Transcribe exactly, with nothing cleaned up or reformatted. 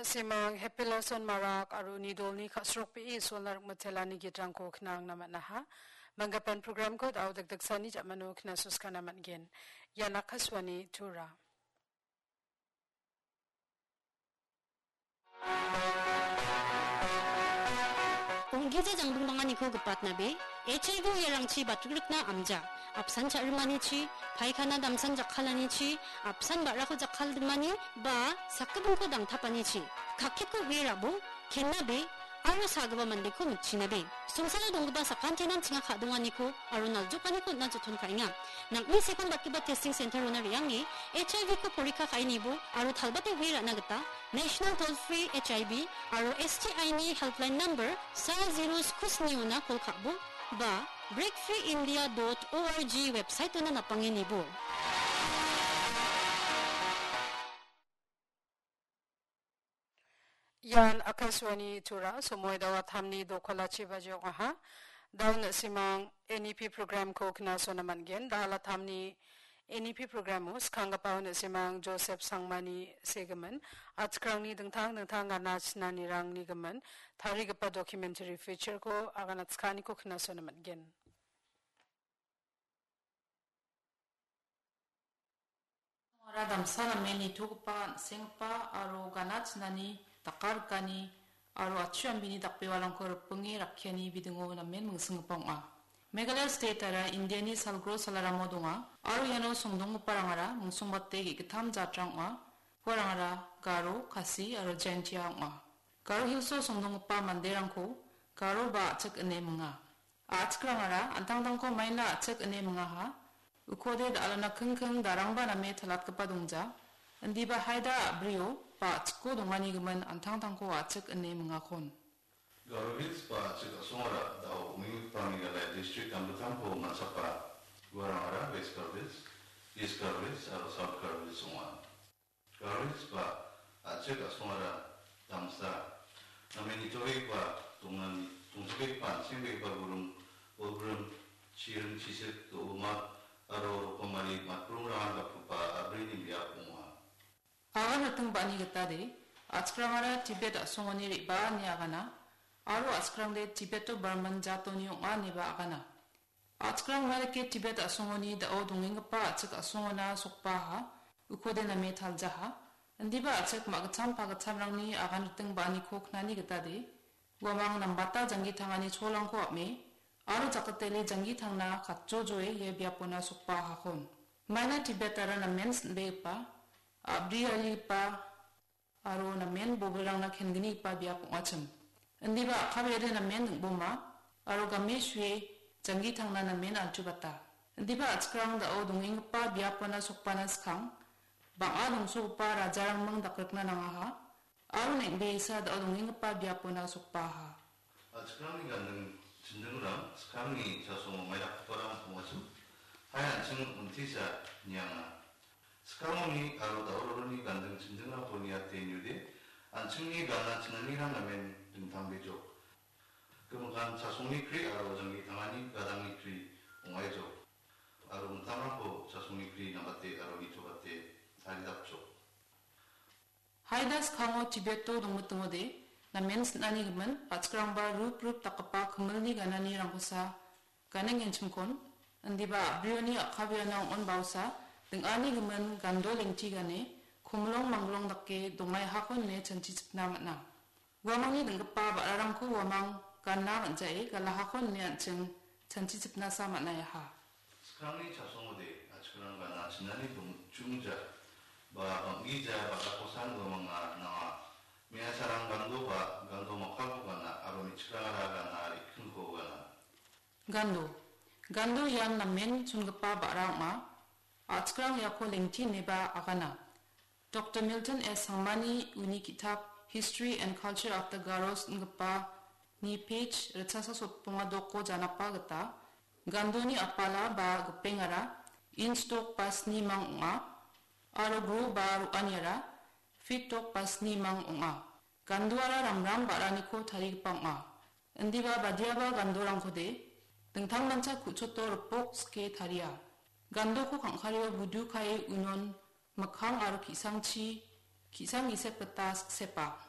Simang Happy Lawson Marak aro uni dolni ka·srokbee Isolna rikmitelani gitrangko knangna man·aha. Manggipan programko da·o dikdiksani ja·mano knasuskana man·gen. Ian Akashvani Tura. Ong·gija jangbingbanganiko gipatnabe, H I V uiarangchi batrikna amja, apsan cha·rimanichi, paikana damsan jakkalanichi, apsan ba·rako jakkaldimani, ba sakgipinko dangtapanichi, kakketko uie rabo, kennabe, aro sagipa mandeko mikchinabe. Songsalo donggipa sakantinan chinga ka·donganiko aro naljokaniko on·na joton ka·enga. Nang·ni sepanbatgipa testing center-ona re·ange H I V-ko porikka ka·anibo aro talbate uie ra·na gita National Toll Free H I V aro S T I-ni helpline number sa zero sku sni-ona kol ka·bo ba breakfreeindia dot org website-ona napange nibo. Ian Akashvani Tura, somoi da·o atamni dokolachi baji ong·aha. Da·o na·simang N E P programko knasona man·gen. Da·al atamni N E P programo skanggipa na·simang Joseph Sangmani segimin, atchikrangni dingtang dingtang gana chinanirangni gimin tarigipa documentary featureko agana chikaniko knasona man·gen. Ora damsa namen nitogipa, an·senggipa aro gana chinani, dakarikani aro atchu ambini dakbewarangko ripinge rakkiani bidingo namen mingsinggipa ong·a. Meghalaya state-ara Indiani salgro salaramo donga aro iano songdonggiparangara mingsongbate ge·gittam jatrang ong·a. Uarangara Garo, Khasi aro Jaintia ong·a. Garo Hills-o songdonggipa manderangko Garo ba A·chik ine minga. A·chikrangara an·tangtangko maina A·chik ine mingaha. Ukode da·alana kingking darangba name talatgipa dongja. Indiba haida a·brio ba A·chikko donganigimin an·tangtangko A·chik ine mingakon. Garo Hills ba A·chik a·songara da·o ong·enggipa Meghalaya district dangdittamko man·sapa. Uarangara West Garo Hills, East Garo Hills aro South Garo Hills ong·a. Garo Hills ba A·chik a·songara damsa namen nitobegipa dongan-, dongchakbegipa an·sengbegipa buring, bolgrim, chiring, chisik, do·omat aro rokomari matburingrangan gapgipa a·brini biap ong·a. Agan riting ba·ani gitade, A·chikrangara Tibet a·songoni re·baa ine agana, aro A·chikrangde Tibeto-Burman jatoni ong·a ineba agana. A·chikrang uarike Tibet a·songoni da·o dongenggipa A·chik a·songona sokbaaha, ukode name taljaha. Indiba A·chik ma·gitcham pagitchamrangni agan riting ba·aniko knani gitade, uamang nambata janggi tangani cholrangko ap·me, aro jakatele janggi tangna katjojoe ia biapona sokbaahakon. Maina Tibet-ara namen sin·begipa, a·briarigipa, aro namen bobilrangna ken·gnigipa biap ong·achim. Indiba a·kabeade namen ding·boma, aro game sue janggi tangna namen alchubata. Indiba A·chikrang da·o dongenggipa biapona sokbana skang, bang·a dongsogipa rajarangming dakrikna nangaha, aro neng·beisa da·o dongenggipa biapona sokbaaha. A·chikrangni ganding chindingrang skangni chasongo maidakgiparang ong·achim. Hai an·ching untisa nianga. Skangoni aro dauraroni ganding chindingrangko niate niode, an·chingni gana chinanirang namen dingtang bejok. Gimikan chasongni kri aro janggi tangani gadangni kri ong·aijok. Aro mitamrangko chasongni kri nambate aro nitobate taridapjok. Haida skango Tibeto dongmitingode, namen sin·ani gimin, A·chikrangba rup rup dakgipa kimilni gananirangkosa ganengenchimkon, indiba a·brioni a·kabeana ong·on baosa, ding·ani gimin gando lengti gane, komilong manglong dake dongaihakon ine chanchichipna man·a. Uamangni ding·gipa ba·rarangko uamang gana man·jae galahakon ine an·ching chanchichipnasa man·aiaha. Skangni chasongode, A·chikrang gana chinani bum-, chungja, ba bang·gija ba·rakosan uamanga nanga. Me·asarang gando ba gando makkako gana aro me·chikrangara gana rikkingko gana. Gando. Gando ian namen chongipa ba·ra ong·a. A·chikrang iako lengti ineba agana. Doktor Milton S Sangmani uni ki·tap History and Culture of the Garos ingipa ni page ritchasa sotbonga dokko janakba gita, gandoni apala ba gipengara inch dok ba sni mang ong·a, aro gro ba ro·aniara feet dok ba sni mang ong·a. Gandoara ramram ba·raniko tarigipa ong·a. Indiba badiaba gandorangkode dingtangmancha ku·choto ripok sike taria. Gandoko kang·kario budu kae unon mikkang aro ki·sangchi, ki·sang gisep gita siksepa.